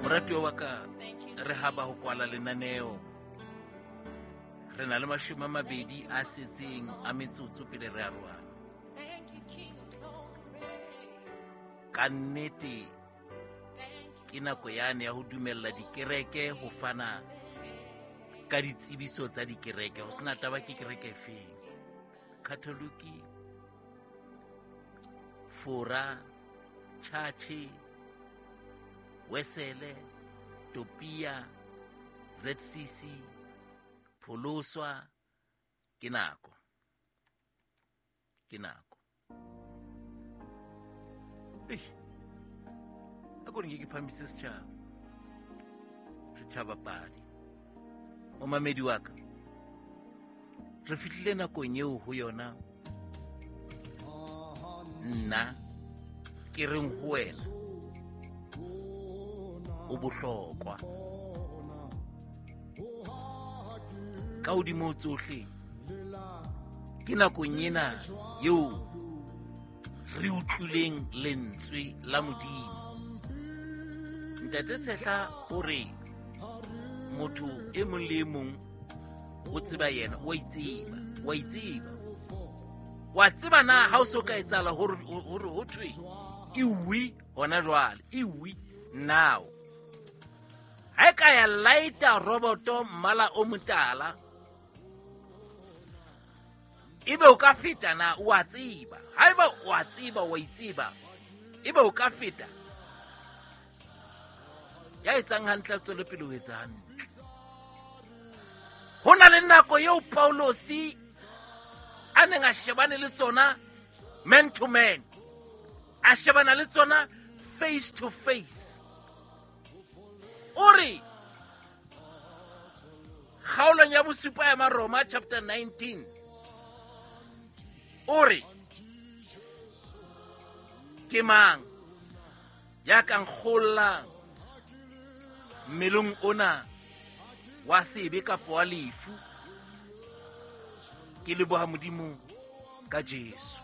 Moratuwa wa ka, re haba ho kwala lenaneo. Re na le 20 a setseng a metsotso pele re arohana. Ka nnete ke nako yane ya ho dumella dikereke ho fana ka ditsebiso tsa dikereke, ho sena taba ke kereke efeng, Catholic, Fora, Chache, Wesele, Topia, ZCC, Pholoswa. Ke nako, ke nako. Ei, a ko re nke ke phamise setjhaba, setjhaba padi. Momamedi wa ka, re fihlile nakong eo ho yona nna ke reng ho wena o bohlokwa. Ka hodimo ho tsohle, ke nakong ena eo re utlwileng lentswe la Modimo. Ntate Tshehla o re motho e mong le e mong o tseba yena, o a itseba, o a itseba. Wa tseba na ha o so ka etsahala hore ho thwe iwi hona jwale, iwi now. Ha e ka ya laeta roboto mmala o motala, ebe o ka feta na? O a tseba. Haeba o a tseba, o a itseba, ebe o ka feta. Ya etsang hantle a tswele pele ho etsa hantle. Ho na le nako eo Paulosi a neng a shebane le tsona man to man, a shebana le tsona face to face. O re kgaolong ya bosupa ya Maroma chapter 19, o re ke mang ya ka nkgollang mmeleng ona wa sebe kapa wa lefu? Ke leboha Modimo ka Jesu.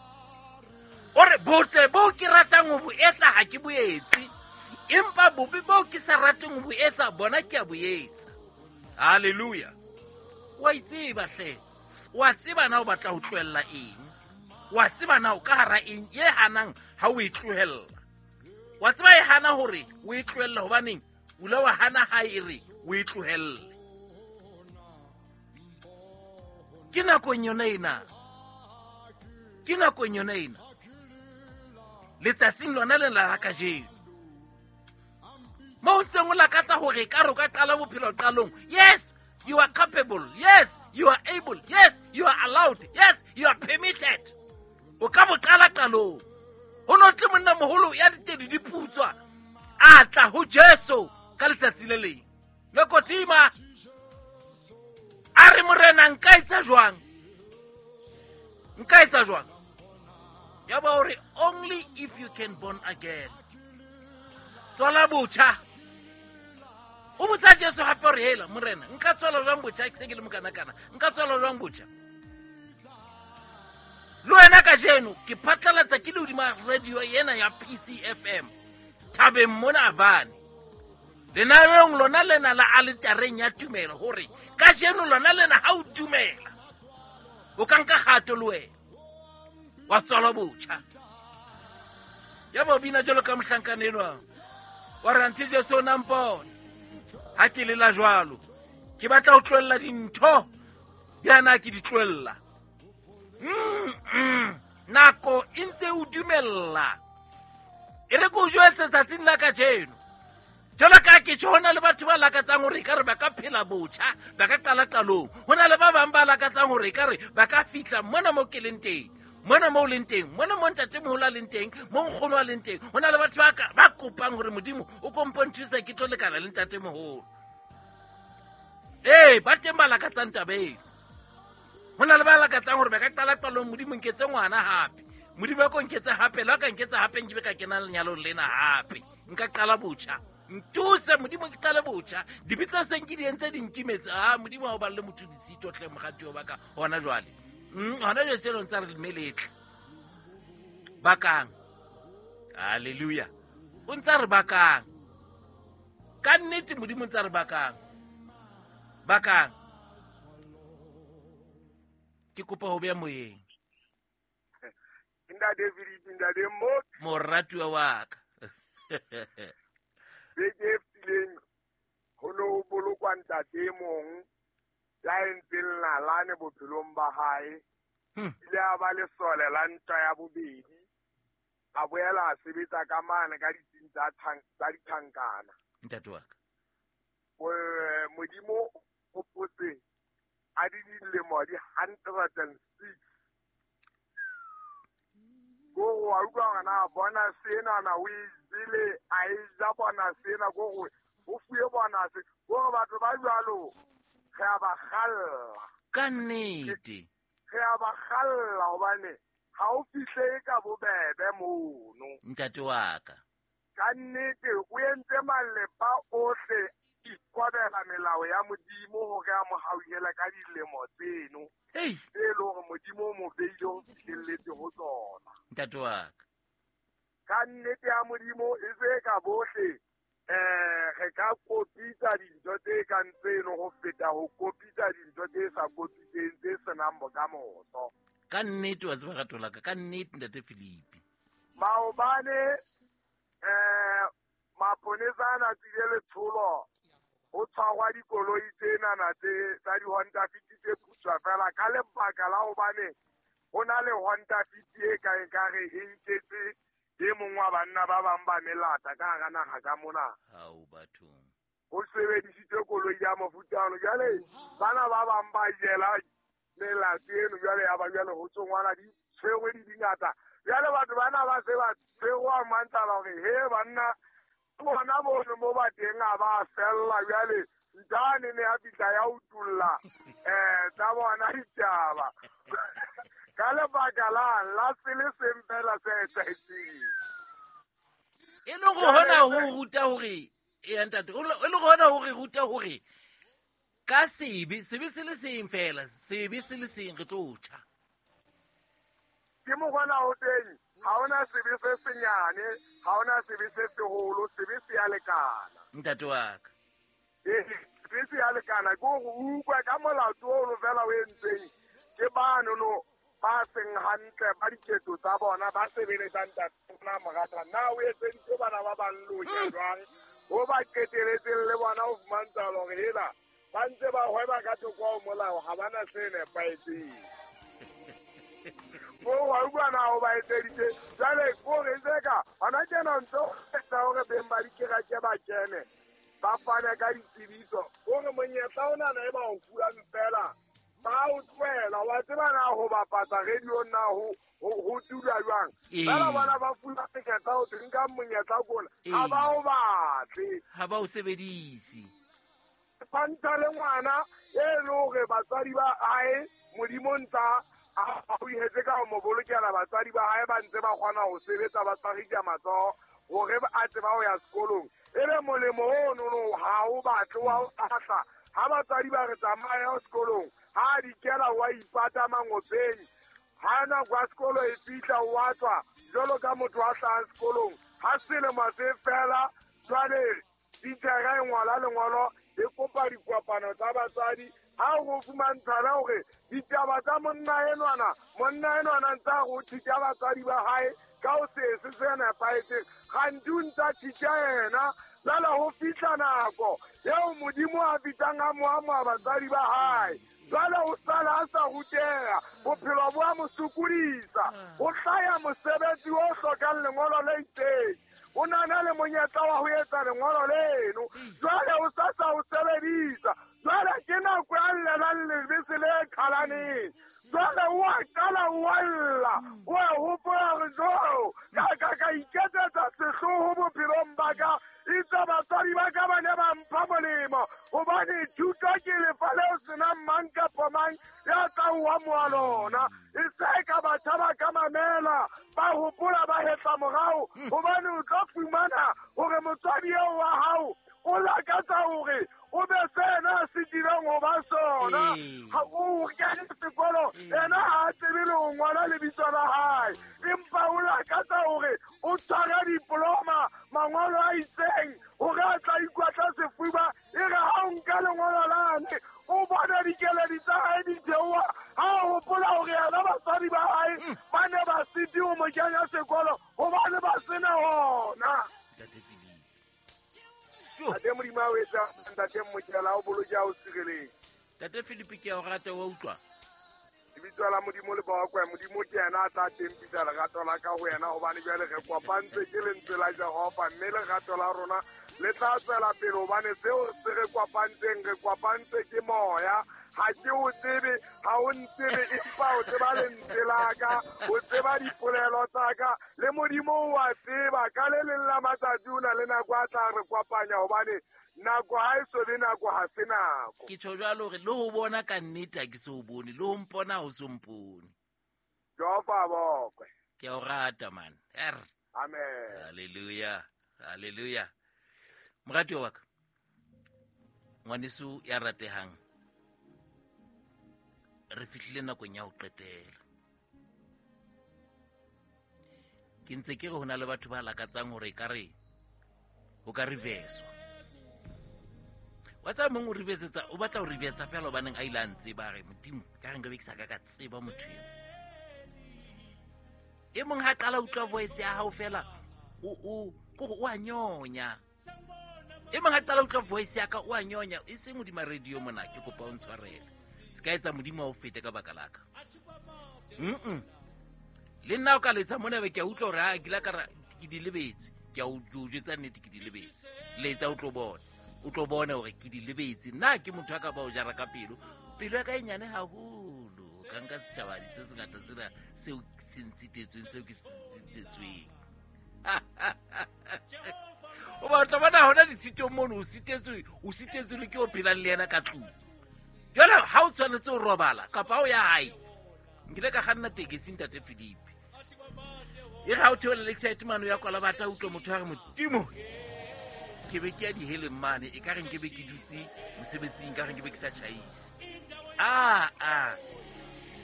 O re botle bo ke ratang ho bo etsa ha ke bo etse, empa bobe bo ke sa rateng ho bo etsa bona ke a bo etsa. Hallelujah. Wa itseba hle, wa tseba na o batla ho tlohella eng, wa tseba na o ka hara eng e hanang ha o e tlohella. Wa tseba e hana hore o e tlohelle hobaneng o ile wa hana ha e re o e tlohelle. Ke nakong yona ena, ke nakong yona ena, letsatsing lona le la kajeno, mo ntseng o lakatsa hore ka re o ka qala bophelo qalong. Yes, you are capable. Yes, you are able. Yes, you are allowed. Yes, you are permitted. O ka bo qala qalong. Ho no tle monna moholo ya ditedi di putswa, a tla ho Jesu ka letsatsi le leng. Lekotima a re, Morena, nka etsa jwang? Nka etsa jwang? Ya ba hore only if you can born again. Tswala botjha. O botsa Jesu hape hore, hela Morena, nka tswala jwang botjha? Ke se ke le mokanakana, nka tswala jwang botjha? Le wena kajeno ke phatlalatsa ke le hodima radio ena ya PCFM thabeng mona Avane, lenaneong lona lena la aletareng ya tumelo, hore kajeno lona lena ha o dumela o ka nka kgato le wena wa tswalwa botjha. Ya ba bina jwalo ka mohlankana enwa wa re, anthe Jesu o na mpona ha ke lela jwalo, ke batla ho tlohella dintho di ana ke di tlohella. Nako e ntse o dumella. E re ke o jwetse tsatsing la kajeno, jwalo ka ke tjho, ho na le batho ba lakatsang hore ekare ba ka phela botjha, ba ka qala qalong. Ho na le ba bang ba lakatsang hore ekare ba ka fihla mona mo ke leng teng, mona mo o leng teng, mona mo ntatemoholo a leng teng, mo nkgono a leng teng. Ho na le batho ba kopang hore Modimo o kompo nthusa ke tlo lekana le ntatemoholo. Ee, ba teng ba lakatsang taba eo. Ho na le ba lakatsang hore ba ka qala qalong, Modimo nketse ngwana hape, Modimo a ko nketse hape, le ha ka nketsa hape nke be ka kena lenyalong lena hape, nka qala botjha. Ntuse Modimo ke qale botjha, dibe tse seng ke di entse di nkimetse. Ah, Modimo ha o balle motho ditshito hle, moratuwa wa ka. Hona jwale, hona jwale tjena o ntsa re meletle bakang. Hallelujah. O ntsa re bakang. Ka nnete Modimo ntse a re bakang. Bakang. Ke kopa ho beya moyeng. Ntate Philip, ntate Mo. Moratuwa wa ka. Beke e fetileng ho ne ho bolokwa ntate e mong ya entseng nalane bophelong ba hae. Ile a ba lesole la ntwa ya bobedi. A boela a sebetsa ka mane ka ditsing tsa ditjhankana. Ntate wa ka. Modimo o hopotse a di dilemo di 106. Ko wa utlwa hore na bona sena na o e jele, a e ja bona sena, ko gore o fuwe bona se. Ko batho ba jwalo re a ba kgalla. Ka nnete. Re a ba kgalla hobane ha o fihle ka bobebe mono. Ntate wa ka. Ka nnete o entse malepa ohle ikobela melao ya Modimo hore a mo hauhele ka dilemo tseno. Hey. E le hore Modimo o mo beile ho fihlelletse ho tsona. Ntate wa ka. Ka nnete ya Modimo e se ka bohle re ka kopitsa dintho tse kang tseno ho feta ho kopitsa dintho tse sa kopitseng tse senang bokamoso. Ka nnete wa tseba rato la ka, ka nnete ntate Philip. Maobane maponesa a na tsile letsholo ho tshwarwa dikoloi tsenana tse tsa di-Honda Fit tse putswa fela ka lebaka la hobane ho na le Honda Fit e ka ekare e nketse e mong wa banna ba bang ba melata ka hara naha ka mona. Hao bathong. Ho sebedisitswe koloi ya mofuta ono. Jwale bana ba bang ba jela melato eno jwale ya ba jwale ho tsongwana di tshwerwe di dingata. Jwale batho bana ba se ba tshwerwa mantala hore he banna bona bono mo ba teng a ba fella jwale ntane ne ya fihla ya utulla tsa bona ditaba. Ka lebaka la se le seng fela se etsahetseng. E le go hona ho ruta hore e ntate, e le go hona hore ruta hore ka sebe, sebe se le seng fela, sebe se le seng re tlo tjha. Ke mokgwa o teng, ha hona sebe se senyane, ha hona sebe se seholo, sebe se ya lekana. Ntate wa ka. Sebe se ya lekana, ke hore o utlwe ka molato ono fela o entseng ke bano no ba seng hantle ba diketso tsa bona ba sebeletsang ntate ona morata. Na o etseditse bana ba bang lonya jwang? Ho ba qeteletseng le bona ho fumantsha hore hela ba ntse ba hweba ka thoko ho molao, ha bana se nepahetseng. Mo wa utlwa na ho ba etseditse jwale ko re tseka hona tjena ntse o etsa hore beng ba dikereke ba kene ba fane ka ditsebiso hore monyetla ona na e ba o fuwang fela ba o tlohela. Wa tseba na ho bapatsa radio na ho dula jwang? Fela bona ba fula monyetla o teng ka monyetla kona ha ba o batle, ha ba o sebedise. Fanta le ngwana e le hore batswadi ba hae Modimo ntsa a o ihetse ka ho mo bolokela batswadi ba hae ba ntse ba kgona ho sebetsa ba tshwarisa matsoho hore a tseba ho ya sekolong. E be molemo ono no ha o batle wa o ahla. Ha batswadi ba re tsamaya sekolong, ha di kela wa ipata mangopeng. Ha nako ya sekolo e fihla o wa tswa jwalo ka motho a hlahang sekolong. Ha selemo se fela jwale titjhere e ngola lengolo e kopa dikopano tsa batswadi. Ha o fumantshana hore ditaba tsa monna enwana ntsa ho thitja batswadi ba hae ka ho se se nepahetseng, kganti o ntsa thitja yena. Jwale ho fihla nako eo Modimo a fihlang a mo amoha batswadi ba hae. Jwale o sala a sa ruteha, bophelo bo a mo sokodisa. Ho hlaya mosebetsi o hlokang lengolo le itseng, o nana le monyetla wa ho etsa lengolo leno, jwale o sa sa o sebedisa. Jwale ke nako ya llelang lebese le qhalaneng. Jwale o a qala o a lla, o a hopola hore jo ka iketsetsa sehloho bophelong ba ka. Itse batswadi ba ka ba ne ba mpha molemo hobane thuto ke lefa leo senang mang kapa mang ya tla o amoha lona. E se ka batjha ba ka mamela, ba hopola ba hetla morao, hobane o tlo fumana hore motswadi eo wa hao o lakatsa hore o be sena se dirang ho ba sona. Ha o kene sekolo, ena ha a tsebe le ho ngola lebitso la hae, empa o lakatsa hore o tshware diploma, mangolo a itseng hore a tla ikwatla Ntate Philip. Ntate Modimo a o etsa, ntate Mokela o boloke a o sireletse. Ntate Philip ke a o rata, wa utlwa? Lebitso la Modimo le bakwe, Modimo ke yena a tla tempisa lerato la ka ho yena, hobane jwale re kopantse ke lentswe la Jehova, mme lerato la rona le tla tswela pele, hobane seo se re kopantseng, re kopantse ke moya. Ha ke o tsebe, ha o ntsebe, empa o tseba lentswe la ka, o tseba dipolelo tsa ka, le Modimo o a tseba. Ka le leng la matsatsi o na le nako a tla re kopanya, hobane nako ha e so be nako, ha se nako. Ke tjho jwalo hore le ho bona ka nnete ha ke so bone, le ho mpona ha o so mpone. Jehova a bokwe. Ke a o rata, man. Amen. Hallelujah. Hallelujah. Moratuwa wa ka, ngwaneso ya ratehang, re fihlile nakong ya ho qetela. Ke ntse ke re ho na le batho ba lakatsang hore ekare ho ka reverswa. Wa tseba mong o reversetsa, o batla ho reversa fela hobaneng a ile a ntseba, a re, Modimo, ka re nkabe ke sa ka ka tseba motho eo. E mong ha qala utlwa voice ya hao fela, o a nyonya. E mong ha qala utlwa voice ya ka, o a nyonya. E seng hodima radio mona, ke kopa o ntshwarele. Se ka etsa Modimo a o fete ka baka la ka. Le nna o ka letsa mona be ke a utlwa hore ha ke la ka ra, ke di lebetse. Ke a o jwetsa nnete, ke di lebetse. Letsa o tlo bona. O tlo bona hore ke di lebetse. Nna ke motho a ka ba o jara ka pelo. Pelo ya ka e nyane haholo. Ka nka setjhabadi se sengata sena seo se ntshitetsweng, seo ke se ntshitetsweng. O batla bona hona ditshitong mono, o sitetswe le ke o phelang le yena ka tlung. Jwale ha o tshwanetse ho robala kapa o ya hae, nkile ka kganna tekesi ntate Philip. E re ha o theola Lakeside mane o ya Kwalabata, utlwa motho a re, Modimo, ke be ke ya diheleng mane, e ka re nke be ke dutse mosebetsing, ka re nke be ke sa tjhaise.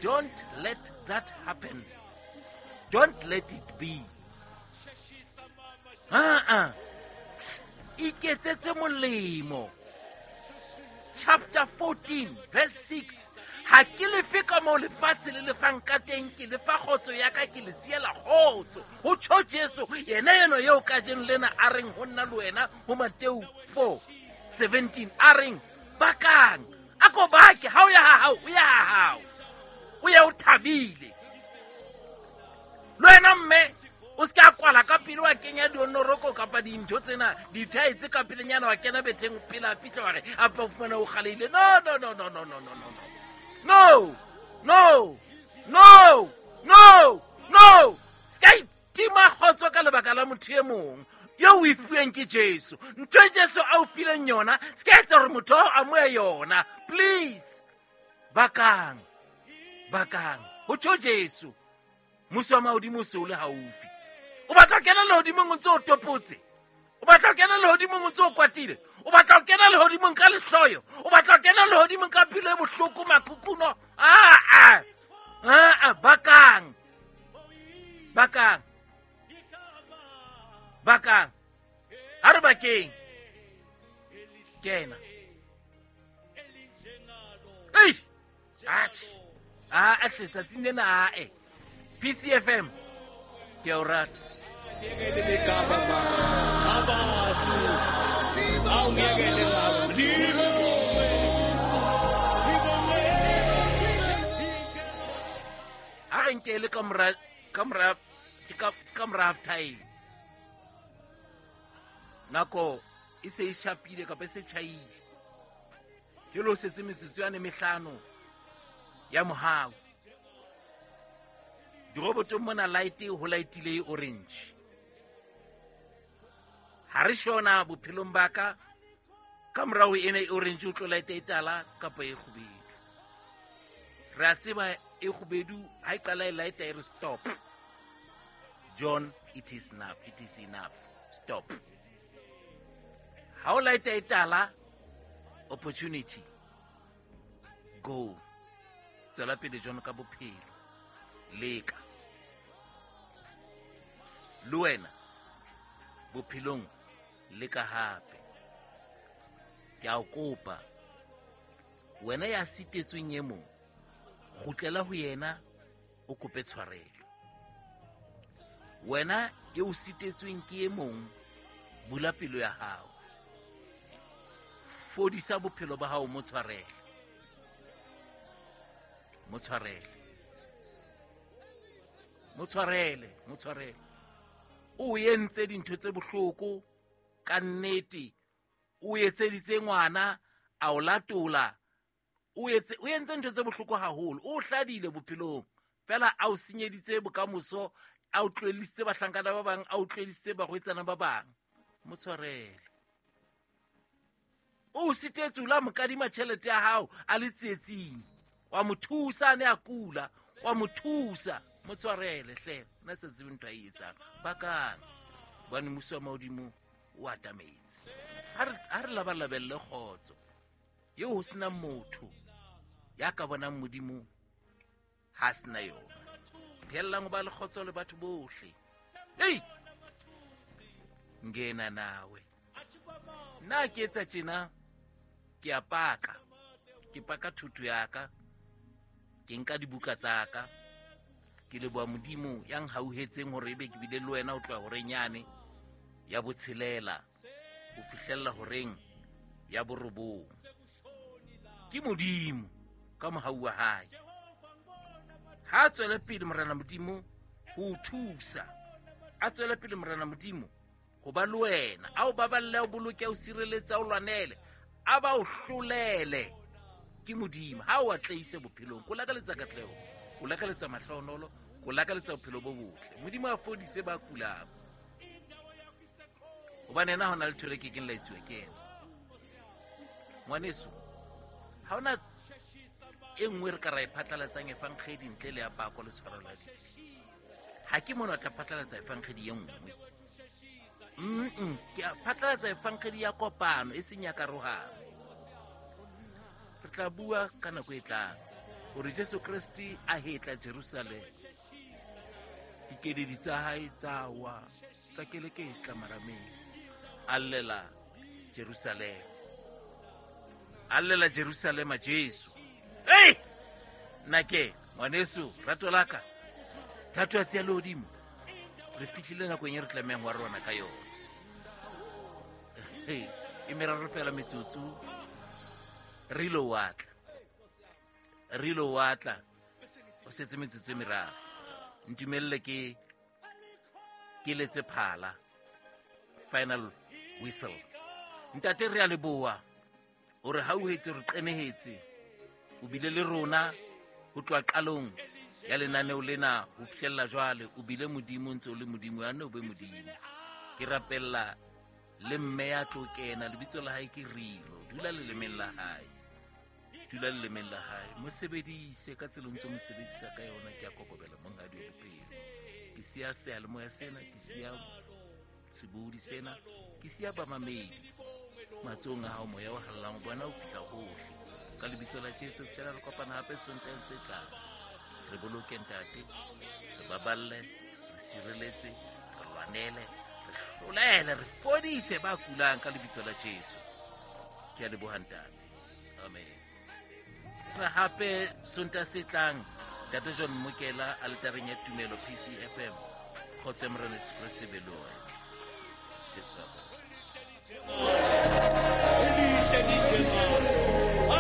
Don't let that happen. Don't let it be. Iketsetse molemo. Chapter 14, verse 6. Ha ke lefe ka moo lefatshe le lefang ka teng, ke lefa kgotso ya ka, ke le siela kgotso. Ho tjho Jesu, yena eno eo kajeno lena a reng ho nna le wena, ho Mateo 4:17, a reng, bakang, a ko bake, ha o ya ha hao, o ya ha hao. O ya o thabile. Le wena mme, o se ka kwala ka pele wa kenya dionoroko kapa dintho tsena, dithaetse ka pelenyana wa kena betheng pele a fihla wa re, a pa fumana o kgaleile. No, no, no, no, no, no, no, no, no. No, no, no, no, no. Se ka itima kgotso ka lebaka la motho e mong eo o e fuweng ke Jesu. Ntho e Jesu a o fileng yona, se ka etsa hore motho ao a amohe yona. Please, bakang, bakang. Ho tjho Jesu, mmuso wa mahodimo o se o le haufi. O batla ho kena lehodimong o ntse o topotse. O batla ho kena lehodimong o ntse o kwatile. O batla ho kena lehodimong ka lehloyo. O batla ho kena lehodimong ka pelo e bohloko, makukuno. Bakang. Bakang. Bakang. Ha re bakeng. Kena. Ei! Atjhe. Atjhe, tsatsing lena, ae. PCFM. Ke a o rata. Ha re nke le ka mora, ka mora, ke ka, ka mora half time. Nako e se e shapile kapa e se tjhaile. Ke lo setse metsotso yane mehlano ya mohau. Dirobotong mona light ho lightile e orange. Ha re shona bophelong ba ka, ka morao ena e orange o tlo light e tala kapa e kgubedu. Re a tseba e kgubedu ha e qala e light e re stop. John, it is enough, it is enough. Stop. Ha o light e tala, opportunity. Go. Tswela pele John ka bophelo. Leka. Le wena bophelong leka hape. Ke a o kopa, wena ya sitetsweng e mong, kgutlela ho yena o kope tshwarelo. Wena e o sitetsweng ke e mong, Bula pelo ya hao, fodisa bophelo ba hao, mo tshwarele, mo tshwarele, mo tshwarele, mo tshwarele. O entse dintho tse bohloko ka nnete, o etseditse ngwana a o latola, o entse ntho tse bohloko haholo, o hladile bophelong fela, a o senyeditse bokamoso, a o tlohellise bahlankana ba bang, a o tlohellise barwetsana ba bang. Mo tshwarele. O sitetse o la mo kadima tjhelete ya hao a le tsietsing, wa mo thusa a ne a kula, wa mo thusa. Mo tshwarele hle, nna se tsebe ntho a e etsang. Bakang, hobane mmuso wa mahodimo o atametse. Ha re labalabelle kgotso eo ho sena motho ya ka bonang Modimo ha sena yona. Pheellang ho ba le kgotso le batho bohle. Ei, ngena nawe. Nna ke etsa tjena, ke a paka, ke paka thuto ya ka, ke nka dibuka tsa ka, ke leboha Modimo ya nhauhetseng hore ebe ke bile le wena ho tloha horeng yane ya botshelela ho fihlella horeng ya borobong. Ke Modimo ka mohau wa hae. Ha a tswele pele Morena Modimo ho o thusa, a tswele pele Morena Modimo ho ba le wena, a o baballe, a o boloke, a o sireletse, a o lwanele, a ba o hlolele. Ke Modimo ha o atlehise bophelong. Ko lakaletsa katleho, ko lakaletsa mahlohonolo, ko lakaletsa bophelo bo botle. Modimo a fodise ba kulang, hobane yena ha hona letho le kekeng la etsuwa ke yena. Ngwaneso, ha hona e nngwe re ka ra e phatlalatsang efankgedi ntle le ya pako le tshwarelo ya dibe. Ha ke mona o tla phatlalatsa efankgedi e nngwe. Ke a phatlalatsa efankgedi ya kopano, e seng ya karohano. Re tla bua ka nako e tlang hore Jesu Kreste a hetla Jerusalema, dikeledi tsa hae tsa wa, tsa keleketla marameng, a llela Jerusalema, a llela Jerusalema Jesu. Ei, nna ke ngwaneso, rato la ka, thato ya tseya lehodimo, re fihlile nakong e re tlamehang wa rona ka yona. E meraro fela metsotso, re ile wa tla, re ile wa tla, o setse metsotso e meraro. Ntumelle ke letse phala, final whistle. Ntate, re a leboha hore ha o hetse, re qenehetse, o bile le rona ho tloha qalong ya lenaneo lena ho fihlella jwale. O bile Modimo, ntse o le Modimo, ya nne o be Modimo. Ke rapella le mme ya tlo kena, lebitso la hae ke Rilo. Dula lelemeng la hae, dula lelemeng la hae, mo sebedise ka tsela o ntse o mo sebedisa ka yona. Ke a kokobela monghadi wa bophelo. Ke siya seyalemoya sena, ke siya sebohodi sena, ke siya bamamedi matsohong a hao. Moya o hallang bona o fihla hohle ka lebitso la Jesu. Fihlela re kopana hape Sontaheng se tlang. Re boloke ntate, re baballe, re sireletse, re lwanele, re hlolele, re fodise ba kulang ka lebitso la Jesu. Ke a leboha ntate, amen. Re hape Sontaha se tlang, Ntate John Mokela aletareng ya Tumelo PCFM. Kgotso ya Morena Jesu Kreste be le wena. Jesu a